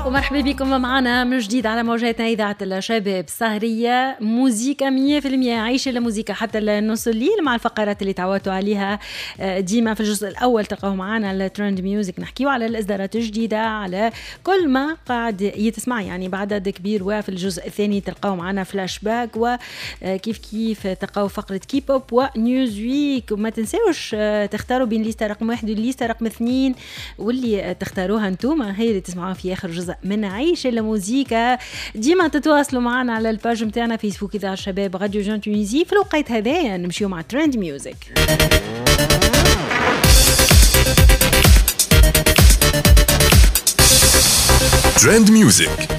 ومرحبا بكم معنا من جديد على موجاتنا إذاعة الشباب. سهرية موزيكا 100%، عيش الموزيكا حتى النص الليل مع الفقرات اللي تعودتوا عليها ديما. في الجزء الأول تلقاو معنا ال trend music، نحكيو على الإصدارات الجديدة، على كل ما قاعد يتسمع يعني بعدد كبير. وفي الجزء الثاني تلقاو معنا فلاش باك، وكيف كيف تلقاو فقرة كيبوب و news week. وما تنساوش تختاروا بين ليستا رقم 1 والليستا رقم 2، واللي تختاروها انتوما هي اللي تسمعوها في آخر جزء من عيش الموزيكا. ديما تتواصلوا معنا على ال page نتاعنا فيسبوك إذاعة الشباب radio jeune Tunisie. في الوقت هذايا نمشيو مع trend music. trend music.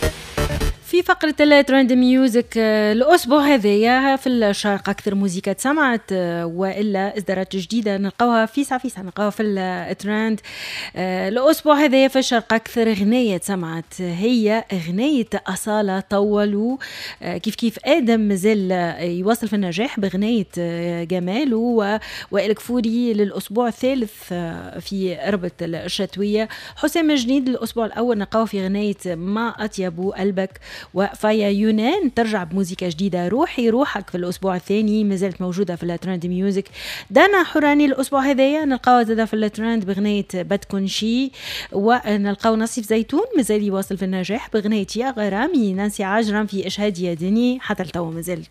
في فقرة ال trend music الأسبوع هذايا في الشرق أكثر موزيكا تسمعت وإلا إصدارات جديدة نلقاوها في ساعة في ساعة، نلقاوها في الترند. الأسبوع هذايا في الشرق أكثر غنية تسمعت هي غنية أصالة طولوا. كيف كيف آدم مازال يواصل في النجاح بغنية جمال، وائل كفوري للأسبوع الثالث في ربة الشتوية. حسام جنيد الأسبوع الأول نلقاوه في غنية ما أطيب قلبك. وفايا يونان ترجع بموزيكا جديدة روحي روحك في الأسبوع الثاني، مازالت موجودة في ال trend music. دانا حوراني الأسبوع هذايا نلقاوها زادة في الترند بغنية بدكن شي. ونلقاو نصيف زيتون مازال يواصل في النجاح بغنية يا غرامي. نانسي عجرم في إشهاد يا دني حتى لتوا مازالت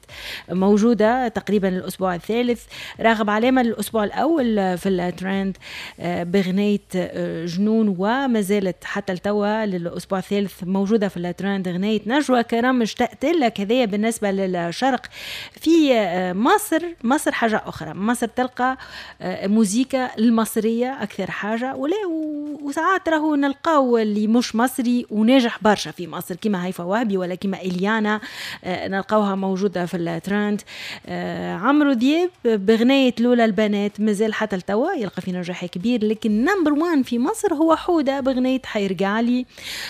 موجودة تقريبا الأسبوع الثالث. راغب علامة الأسبوع الأول في الترند بغنية جنون، ومازالت حتى لتوا للأسبوع الثالث موجودة في الترند غنية نجوى كرم اشتقت لك. هذايا بالنسبة للشرق. في مصر، مصر حاجة أخرى، مصر تلقى موزيكا المصرية أكثر حاجة، ولا وساعات راهو نلقاو اللي مش مصري وناجح برشا في مصر كيما هيفا وهبي ولا كيما إليانا، نلقاوها موجودة في الترند. عمرو دياب بغناية لولا البنات مازال حتى لتوا يلقى في نجاح كبير، لكن number 1 في مصر هو حودة بغناية حيرجع لي.